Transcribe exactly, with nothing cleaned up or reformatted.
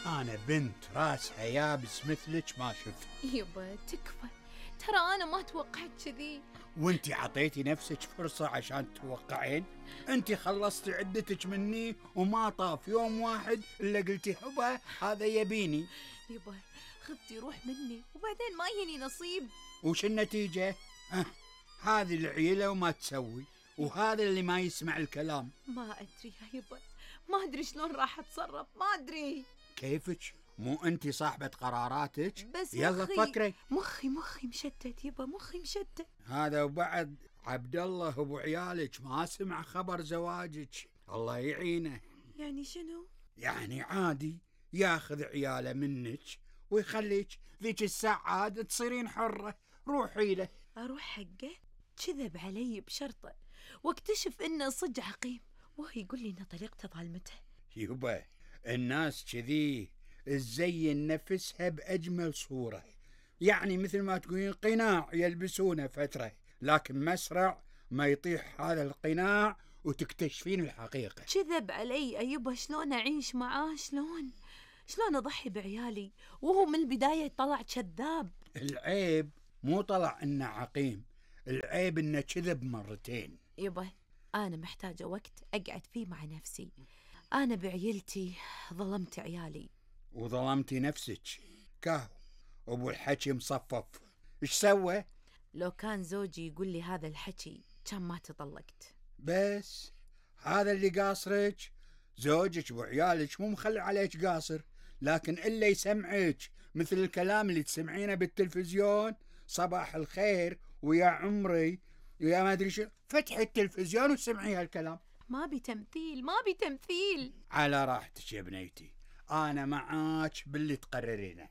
أنا بنت راسها يابس مثلك ما شفت. يبا تكفى، ترى أنا ما توقعت كذي. وانتي عطيتي نفسك فرصة عشان تتوقعين؟ انتي خلصتي عدتك مني وما طاف يوم واحد إلا قلتي هبا هذا يبيني. يبا خذتي روح مني وبعدين ما يني نصيب. وش النتيجة؟ أه هذه العيلة وما تسوي، وهذا اللي ما يسمع الكلام. ما أدري يا يبا، ما أدري شلون راح أتصرف، ما أدري. كيفك؟ مو أنتي صاحبة قراراتك؟ بس يلا مخي فكري. مخي مخي مشتت يبا، مخي مشتت. هذا وبعد عبد الله أبو عيالك ما سمع خبر زواجك، الله يعينه. يعني شنو؟ يعني عادي ياخذ عياله منك ويخليك ذيك الساعة عاد تصيرين حرة، روحي له. أروح حقه؟ كذب علي بشرطه واكتشف إنه صدق عقيم وهو يقول لي إن طليقته ظالمته. يبا الناس كذي تزين نفسها بأجمل صورة، يعني مثل ما تقولين قناع يلبسونه فترة، لكن مسرع ما يطيح هذا القناع وتكتشفين الحقيقة. كذب علي أيوبا، شلون أعيش معاه؟ شلون شلون أضحي بعيالي وهو من البداية طلع كذاب؟ العيب مو طلع إنه عقيم، العيب إنه كذب مرتين. يبا أنا محتاجة وقت أقعد فيه مع نفسي. أنا بعيلتي ظلمت عيالي وظلمتي نفسك. كاهو أبو الحكي مصفف إيش سوى؟ لو كان زوجي يقول لي هذا الحكي كان ما تطلقت. بس هذا اللي قاصرك، زوجك وعيالك مو مخلي عليك قاصر، لكن إلا يسمعك مثل الكلام اللي تسمعينه بالتلفزيون، صباح الخير ويا عمري ويا ما أدري شو، فتحي التلفزيون وسمعي هالكلام. ما بتمثيل، ما بتمثيل. على راحتك يا بنيتي، أنا معاك باللي تقررينه.